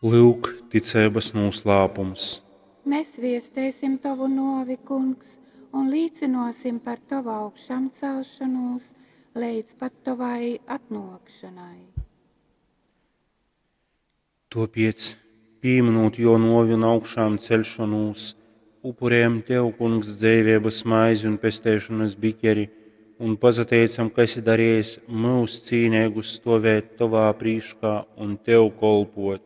Lyuk, ticeibas nūslāpums. Mēs viesteisim tovu nōvi, Kungs, un līcynōsim par tovu augšamcelšonūs leidz pat tovai atnōkšanai. Tōpēc, pīmynūt jō nōvi un augšām ceļšonūs, upurējam Tev, Kungs, dzeiveibas maizi un pesteišonas bikeri, un pasateicam, ka esi darījis myus cīneigus stovēt Tovā prīškā un Tev kolpot.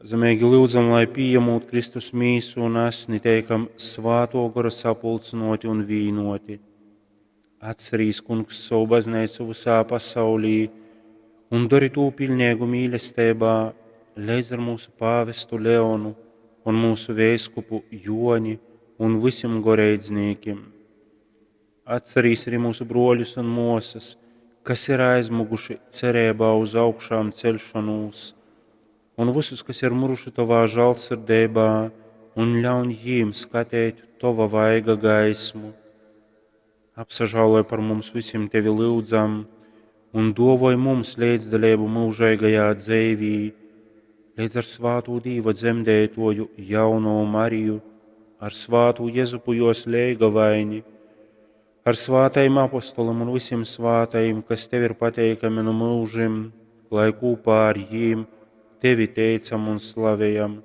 Pazemeigi lyudzam, lai pījemūt Kristus mīsu un asni, teikam Svātō Gora sapulcynōti un vīnoti. Atcerīs, Kungs, savu baznīcu visā pasaulī un dori tū piļneigu mīlestībā, leidz ar mūsu pāvestu Leonu un mūsu veiskupu Joni un visiem goreidznīkim. Atcerīs arī mūsu broļus un mosas, kas ir aizmuguši cerībā uz augšām celšanos, un visus, kas ir muruši Tavā žālsirdībā, un ļauj jīm skatīt Tava vaiga gaismu. Apsažāloj par mums visiem Tevi lūdzam, un dovoj mums līdzdalību mūžīgajā dzīvī, līdz ar svātu Dīva dzemdētoju jauno Mariju, ar svātu Jezupu jos leigavaini, ar svātajiem apostolim un visiem svātajiem, kas Tev ir pateikami no mūžim, lai kopā ar jīm Tevi teicam un slavējam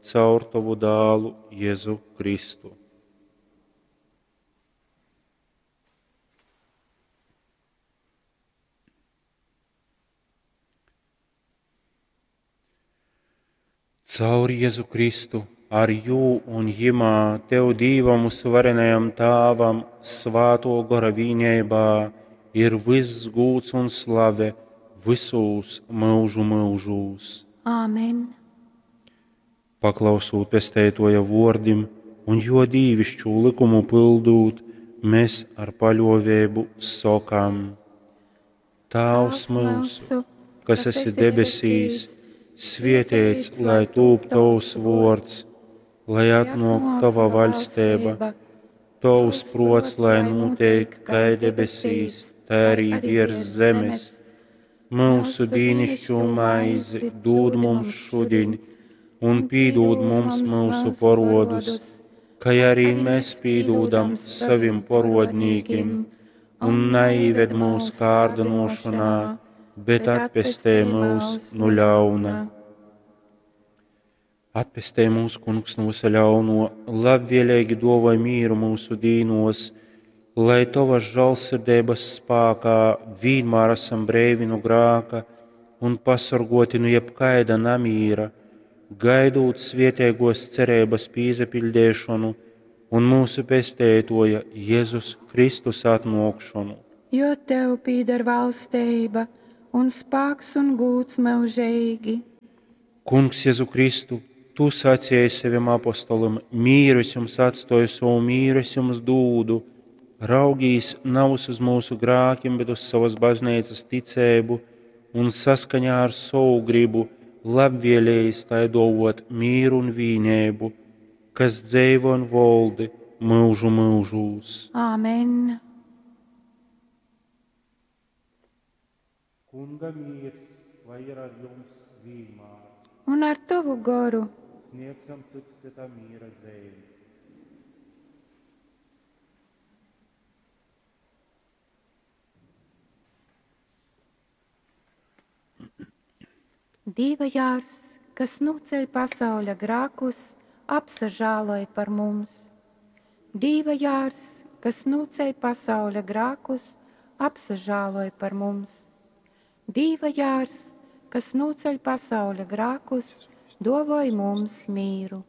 caur Tavu dālu Jēzu Kristu. Caur Jēzu Kristu, ar jū un jimā, Tev Dīvam uzvarenajam Tāvam, Svāto Gora vīnībā, ir viss gūds un slave visūs mūžu mūžūs. Āmen. Paklausūt pesteitoja vordim un jo dīvišķū likumu pildūt, mēs ar paļovēbu sokam: Tāvs mūsu, kas esi debesīs, svietēts, lai tūp tavs vords, lai atnāk tava vaļstība, tavs prots, lai notiek kā debesīs, tā arī virs zemes. Mūsu dīnišķo maizi dod mums šodien, un pīdod mums mūsu porodus, kā arī mēs pīdodam savim porodnīkim, un neīved mūsu kārdinošanā, bet atpestē mūs no ļauna. Atpestē mūsu kungs no visa ļauno, labvēlīgi dovoj mīru mūsu dīnos, lai tavas žālsirdības spākā vienmēr esam breivi no grāka un pasargoti no jebkaida namīra, gaidot svietēgos cerības pīzapildēšanu un mūsu pestētoja Jēzus Kristus atnākšanu. Jo tev pīder valstība un spāks un gūds mūžīgi. Kungs Jēzu Kristu, tu sacīji saviem apostolim, mīru es jums atstoju, savu mīru es jums dūdu. Raugīs nav uz mūsu grākiem, bet uz savas baznīcas ticēbu un saskaņā ar savu gribu labvēlējis tai dovot mīru un vīnēbu, kas dzeivo un voldi mūžu mūžūs. Āmen. Kunga miers, lai ir ar jums vienmēr. Un ar tavu goru. Sniegsim cits citam miera zīmi. Dieva jārs, kas noceļ pasauļa grākus, apsažāloj par mums. Dieva jārs, kas noceļ pasauļa grākus, apsažāloj par mums. Dieva jārs, kas noceļ pasauļa grākus, dovoj mums mīru.